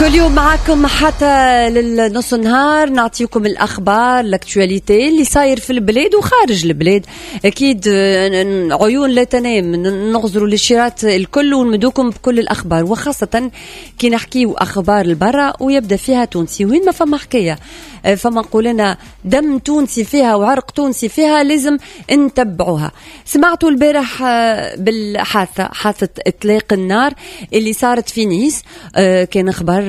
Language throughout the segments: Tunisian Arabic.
كل يوم معكم حتى للنص النهار نعطيكم الاخبار، l'actualité اللي صاير في البلاد وخارج البلاد. اكيد عيون لا تنام، نغزروا للشيرات الكل ونمدوكم بكل الاخبار، وخاصة كي نحكيو اخبار البرا ويبدا فيها تونسي. وين ما فما حكاية فما نقول لنا دم تونسي فيها وعرق تونسي فيها لازم نتبعوها. سمعتوا البارح بالحادثه، حادثه اطلاق النار اللي صارت في نيس. كان خبر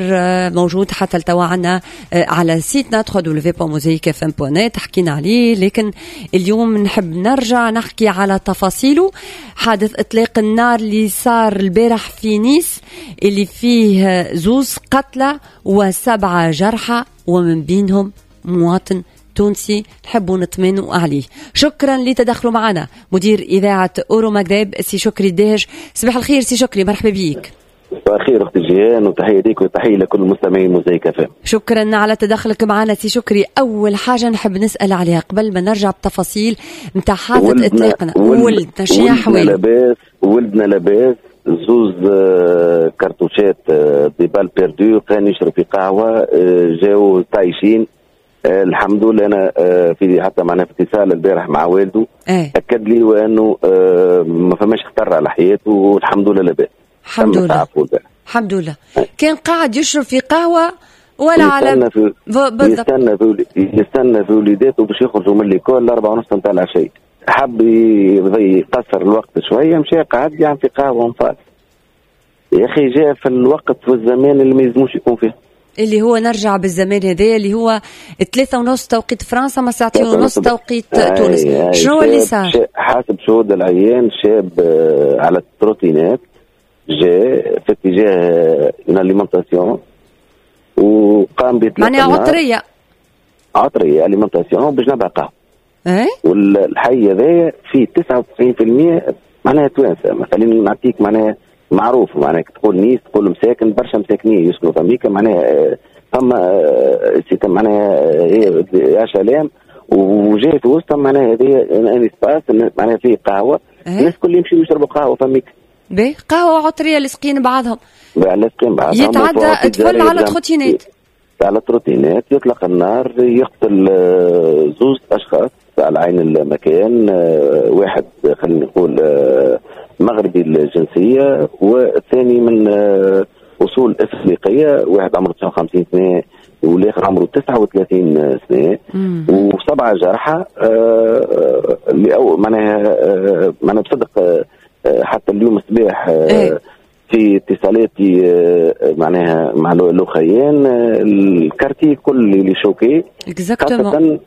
موجود حتى لتوا عنا على site نا www.mosaicfm.net، حكينا عليه، لكن اليوم نحب نرجع نحكي على تفاصيله. حادث اطلاق النار اللي صار البارح في نيس اللي فيه زوز قتلى وسبعة جرحى ومن بينهم مواطن تونسي نحبوا نطمنوا عليه. شكرا لتدخلوا معنا مدير إذاعة أورو مغرب سي شكري الدهش. صباح الخير سي شكري، مرحبا بيك. صباح الخير اختي جيهان، وتحية ليك وتحية لكل المستمعين موزايك اف ام. شكرا على تدخلك معنا سي شكري. اول حاجة نحب نسال عليها قبل ما نرجع بتفاصيل نتاع حادثه اطلاقنا، ولدنا شنو احوال؟ لاباس ولدنا، لاباس. زوز كرتوشات des balles perdues، كان يشرب في قهوه، جاو طايشين. الحمد لله انا في حتى معنا في اتصال البارح مع والده، اكد لي وانه ما فماش خطر على حياته والحمد لله لاباس. الحمد لله الحمد لله. كان قاعد يشرب في قهوة ولا على يستنى في وليداته باش يخرجوا من l'école 4:30 نتاع العشية، حب يقصر الوقت شوية، مشى قعد يعمل في قهوة وانفاس. يا اخي جاء في الوقت والزمان اللي ما يلزموش يكون فيه، اللي هو نرجع بالزمان هذا اللي هو 3:30 توقيت فرنسا، ما 2:30 توقيت تونس. شنو اللي صار؟ حسب شهود العيان شاب على ال trottinette جاء في اتجاه une alimentation وقام بإطلاق معناها عطريه، عطريه alimentation بجنبها قهوة. والحي هذايا فيه 99% معناها توانسة. مثلا نعطيك معناها معروف، معناها تقول نيس تقول مساكن، برشا مساكنين يسكنوا في امريكا، معناها فما معناها HLM وجاي في وسطهم، معناها هذه un espace معناها فيه قهوة، الناس الكل يمشيوا يشربوا قهوة فميك. باهي، قهوة عطريه لاصقين بعضهم، لاصقين بعضهم، يتعدى طفل على trottinette، على trottinette يطلق النار، يقتل زوز اشخاص على عين المكان، واحد خلينا نقول مغربي الجنسية والثاني من اصول افريقيه، واحد عمره 59 سنة والاخر عمره 39 سنة، وسبعة جرحى. معناها معناها بصدق حتى اليوم الصباح في اتصالاتي معناها مع الاخيان، ال quartier كل اللي choqué خاصة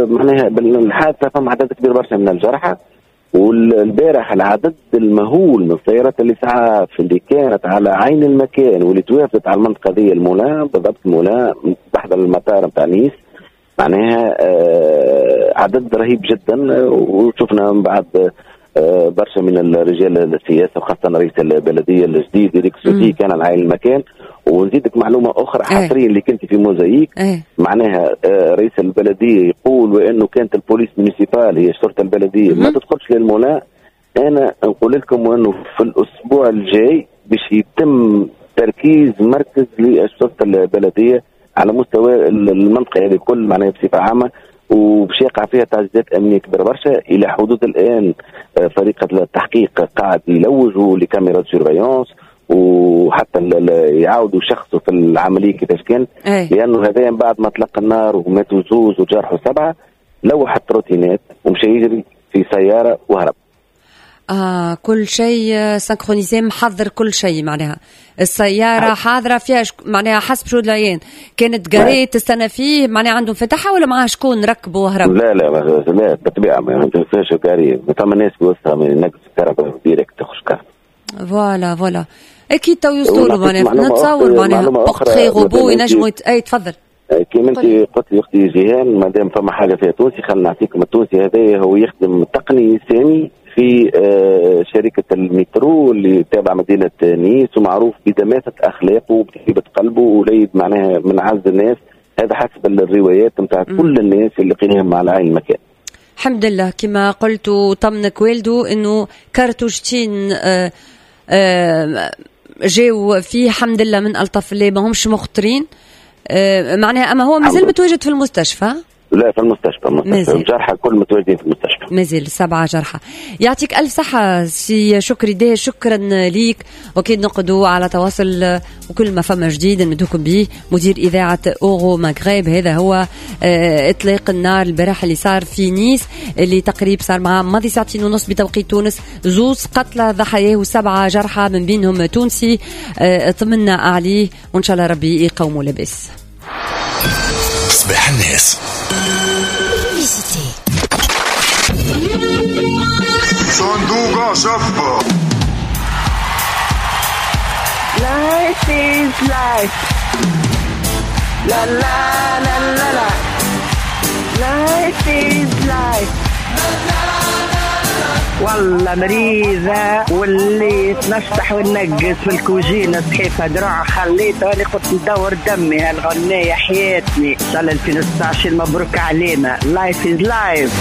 معناها بالحادثة فما عدد كبير برشا من الجرحى. والبارح العدد المهول من السيارات الاسعاف اللي كانت على عين المكان واللي توافدت على المنطقة ذي المولا بالضبط، المولا بحذا المطار نتاع نيس، معناها عدد رهيب جدا. وشفنا من بعد برشا من الرجال السياسة وخاصة رئيس البلدية الجديد إريك سوتي كان على عين المكان. ونزيدك معلومة اخرى حصريا اللي كنت في موزايك، معناها رئيس البلدية يقول وانه كانت ال police municipale هي الشرطة البلدية ما تدخلش للمولا. انا نقول لكم وانه في الاسبوع الجاي باش يتم تركيز مركز للشرطة البلدية على مستوى المنطقة هذه الكل معناها بصفة عامة، وباش يقع فيها تعزيزات امنية كبيرة برشا. الى حدود الان فريق التحقيق قاعد يلوجوا les caméras surveillance وحتى يعاودوا شخصوا في العملية كيفاش كانت، لانه هذا بعد ما طلق النار وماتوا زوز وجرحوا 7، لوح ال trottinette ومشى يجري في سيارة وهرب. كل شيء synchronisé، محضر كل شيء، معناها السيارة حاضرة فيها معناها حسب شهود العيان كانت garée تستنى فيه، معناها عندهم فتحة ولا معاه شكون ركبوا وهرب؟ لا لا لا بالطبيعة ما فيهاش garée، ثم ناس في وسطها نقص الكهرباء direct تخش كهرباء. voilà voilà اكيد تو يوصلوا له، معناها نتصور معناها portrait robot ينجموا. اي تفضل. كيما انت قلت لي اختي جيهان، ما دام فما حاجة فيها تونسي خلينا نعطيكم التونسي هذا هو يخدم تقني سامي في شركة المترو اللي تابعة مدينة نيس، ومعروف بدماثة أخلاقه وبطيبة قلبه، وليد معناها من عز الناس. هذا حسب الروايات نتاع كل الناس اللي لقيناهم على عين المكان. الحمد لله كما قلت وطمنك والده انه كارتوشتين جاو فيه، الحمد لله من الطف الله ما همش مخطرين. معناها اما هو مازال متواجد في المستشفى؟ لا، في المستشفى، المستشفى. الجرحى الكل متواجدين في المستشفى. مازال سبعة جرحى. يعطيك ألف صحة سي شكري داهش، شكرا ليك، وأكيد نقعدوا على تواصل وكل ما فما جديد نمدوكم به. مدير إذاعة أورو مغرب. هذا هو إطلاق النار البارح اللي صار في نيس، اللي تقريب صار مع ماضي ساعتين ونص بتوقيت تونس، زوز قتلى ضحاياه وسبعة جرحى من بينهم تونسي. اطمنا عليه وإن شاء الله ربي يقوموا لاباس. صباح الناس. Publicité. صندوق شفة. Life is life. La la la la la. Life is life. والله مريضة واللي نشطح وننقص في الكوجينة، صحيفة دراع خليتها اللي قلت ندور دمي هالغنية حياتني. ان شاء الله 2019 مبروك علينا. life is life.